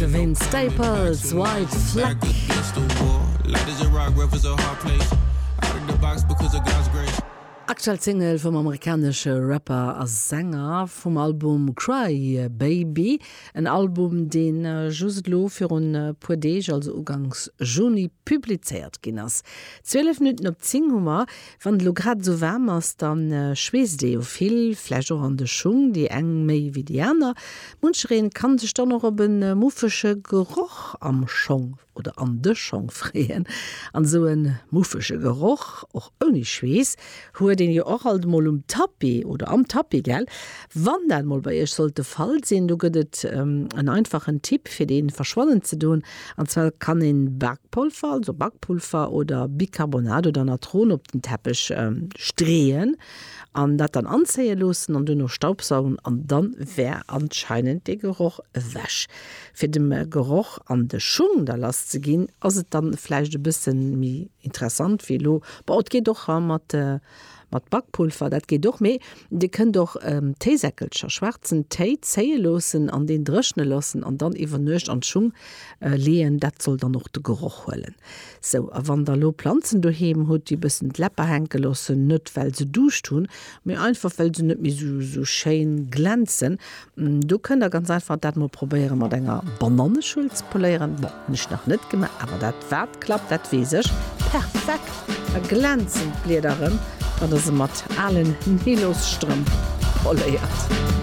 De Vince Staples, White Flag. Aktuell Single vum amerikanesche Rapper a Sänger vum Album Cry Baby. En Album, dee just elo virun puer Deeg, also uganks Juni, publizéiert ginn ass. 12 Minutten op 10 hu mer. Wann et elo grad esou waarm ass, da schweesst ee jo vill, vläicht och an de Schung, déi eng méi wéi déi aner. Munchereen kann sech dann och op e muffege Geroch am Schong oder an de Schong freeën. An esou e muffege Geroch, och ouni Schweess, huet een jo och alt emol um Tapis oder am Tapis, gell? Wann dat mol bei iech sollt de Fall sinn, do gëtt et en einfachen Tipp fir dee verschwannen ze doen. An zwar kann een Bakpolver, also Bakpulver oder Bicarbonat oder Natron op den Teppech streeën an dat dann anzéie loossen an duerno staubsaugen an dann wär anscheinend dee Geroch ewech. Fir dem Geroch an de Schung da lass ze ginn ass et dann vläicht e bëssen méi interessant wéi elo, bon et geet och mat Mat Bakpulver, dat geet och, mee Dir kënnt och Téisäckelcher, schwaarzen Téi, zéie loossen an deen dréchne loossen an dann iwwer Nuecht an d'Schung leeën. Dat soll dann och de Geroch huelen. Sou, a wann der elo Planzen doheem hutt, déi e bëssen d'Läpper hänke loossen, net well se Duuscht hunn, mee einfach well se net méi sou schéin glänzen, do kënnt der ganz einfach dat mol probéiere mat enger Bananneschuel ze poléieren. Bon, hunn ech nach net gemaach, awer dat wat klappt, dat weess ech. Perfekt! Da glänzen d'Blieder erëm, wann der se mat alen Nylosstrëmp poléiert.